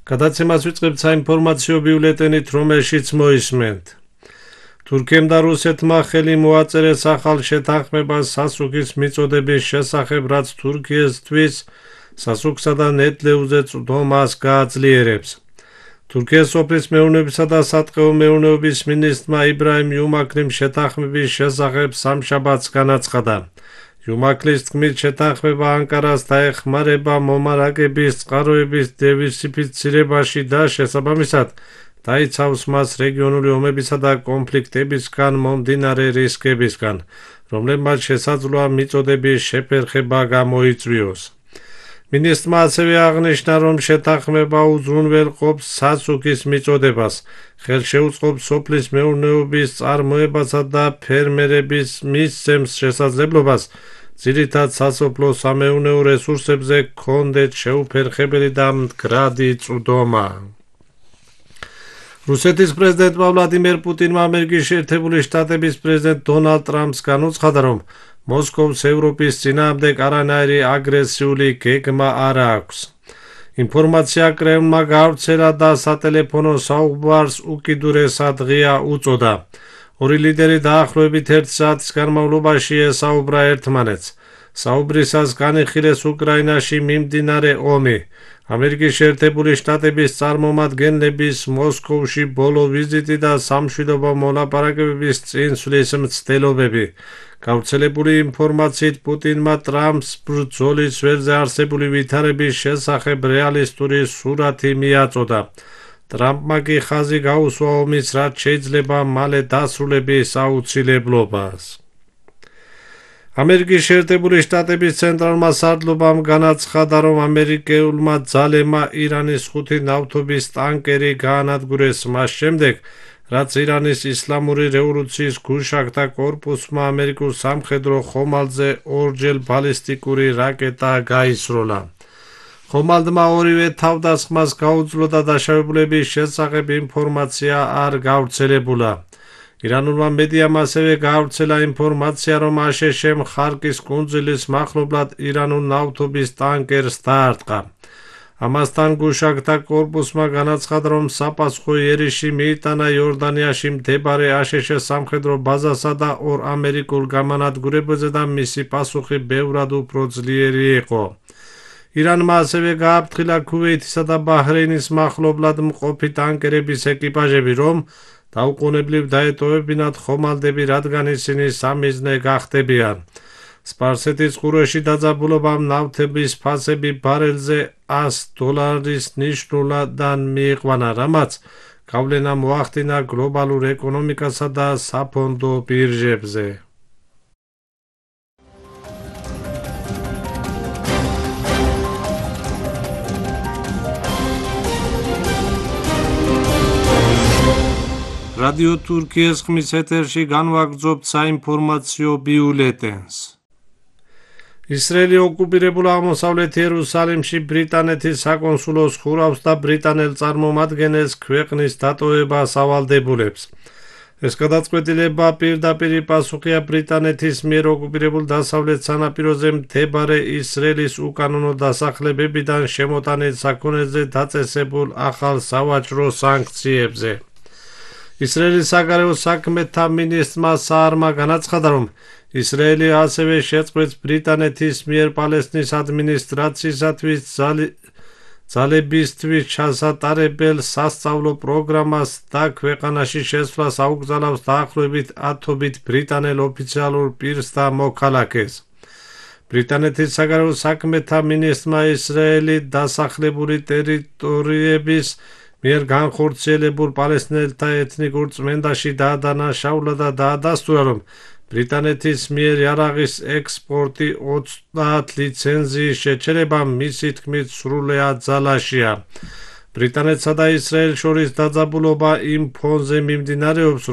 გადაცემას ვიწყებთ საინფორმაციო ბიულეტენით, რომელშიც მოისმენთ. თურქიამ და რუსეთმა ხელი მოაწერეს ახალ შეთანხმებას სასუქის მიწოდების შესახებ, რაც თურქიისთვის სასუქსა და ნედლეულზე წვდომას გააძლიერებს. თურქიის სოფლის მეურნეობისა და სატყეო მეურნეობის მინისტრმა იბრაჰიმ იუმაკლიმ შეთანხმების შესახებ სამშაბათს განაცხადა. იუმაკლის თქმით, შეთანხმება ანკარას დაეხმარება მომარაგების წყაროების დივერსიფიცირებაში და შესაბამისად დაიცავს მას რეგიონული ომებისა და კონფლიქტებისგან მომდინარე რისკებისგან, რომლებმაც შესაძლოა მიწოდების შეფერხება გამოიწვიოს. მინისტრმა ასევე აღნიშნა, რომ შეთანხმება უზრუნველყოფს სასუქის მიწოდებას, ხელშეუწყობს სოფლის მეურნეობის წარმოებასა და ფერმერების მისცემს შესაძლებლობას ძირითად სასოფლო-სამეურნეო რესურსებზე გქონდეთ შეუფერხებელი და მდგრადი წვდომა. რუსეთის პრეზიდენტმა ვლადიმერ პუტინმა ამერიკის შეერთებული შტატების პრეზიდენტ დონალდ ტრამპს განუცხადა, რომ მოსკოვს ევროპის წინააღმდეგ არანაირი აგრესიული გეგმა არ აქვს. ინფორმაცია კრემლმა გავრცელა და სატელეფონო საუბარს უკიდურესად ღია უწოდა. ორი ლიდერი დაახლოებით 1 საათის განმავლობაში ესაუბრა ერთმანეთს. საუბრისას განიხილეს უკრაინაში მიმდინარე ომი. ამერიკის შეერთებული შტატების წარმომადგენლების მოსკოვში ბოლო ვიზიტი და სამშვიდობო მოლაპარაკებების წინსვლის მცდელობები. გავრცელებული ინფორმაციით პუტინმა ტრამპს ბრძოლის ველზე არსებული ვითარების შესახებ რეალისტური სურათი მიაწოდა. ტრამპმა კი ხაზი გაუსვა ომის, რაც შეიძლება მალე დასრულების აუცილებლობას. ამერიკის შეერთებული შტატების ცენტრალურმა სარდლობამ განაცხადა, რომ ამერიკულმა ძალებმა ირანის 5 ნავთობის ტანკერი გაანადგურეს მას შემდეგ, რაც ირანის ისლამური რევოლუციის გუშაგთა კორპუსმა ამერიკულ სამხედრო ხომალდზე ორჯერ ბალისტიკური რაკეტა გაისროლა. ხომალდმა ორივე თავდასხმას გაუძლო და დაშავებულების შესახებ ინფორმაცია არ გავრცელებულა. ირანულმა მედიამ ასევე გაავრცელა ინფორმაცია, რომ აშშ-მ ხარკის კუნძულის მახლობლად ირანულ ნავთობის ტანკერს დაარტყა. ამასთან გუშაგთა კორპუსმა განაცხადა, რომ საპასუხო იერიში მიიტანა იორდანიაში მდებარე აშშ სამხედრო ბაზასა და 2 ამერიკულ გამანადგურებაზე და მისი პასუხი ბევრად უფრო ძლიერი იყო. ირანმა ასევე გააფრთხილა ქუვეითისა და ბაჰრეინის მახლობლად მყოფი ტანკერების ეკიპაჟები, რომ დაუყოვნებლივ დაეტოვებინათ ხომალდები, რადგან ისინი სამიზნე გახდებიან. სპარსეთის ყურეში დაძაბულობამ ნავთობის ფასები ბარელზე $100 ნიშნულადან მიიყვანა, რამაც გავლენა მოახდინა გლობალურ ეკონომიკასა და საფონდო ბირჟებზე. რადიო თურქიის ხმის ეთერში განვაგრძობთ საინფორმაციო ბიულეტენს. ისრაელი ოკუპირებულ აღმოსავლეთ იერუსალიმში ბრიტანეთის საკონსულოს ხურავს და ბრიტანელ წარმომადგენელს ქვეყნის დატოვებას ავალდებულებს. ეს გადაწყვეტილება პირდაპირი პასუხია ბრიტანეთის მიერ ოკუპირებულ დასავლეთ სანაპიროზე მდებარე ისრაელის უკანონო დასახლებებიდან შემოტანილ საქონელზე დაწესებულ ახალ სავაჭრო სანქციებზე. ისრაელის საგარეო საქმეთა მინისტრმა საარმა განაცხადა, რომ ისრაელი ასევე შეწყვეტს ბრიტანეთის მიერ პალესტინის ადმინისტრაციისათვის ძალებისთვის ჩასატარებელ სასწავლო პროგრამას და ქვეყანაში შესვლას აუკრძალავს დაახლოებით 10-ობით ბრიტანელ ოფიციალურ პირს და მოქალაქეს. ბრიტანეთის საგარეო საქმეთა მინისტრმა ისრაელი დასახლებული ტერიტორიების მიერ განხორციელებულ პალესტინელთა ეთნიკურ წმენდაში დაადანაშაულა და დაადასტურა, რომ ბრიტანეთის მიერ იარაღის ექსპორტი 30 ლიცენზიის შეჩერება მისი თქმით სრულად ძალაშია. ბრიტანეთსა და ისრაელს შორის დაძაბულობა იმ ფონზე მიმდინარეობს,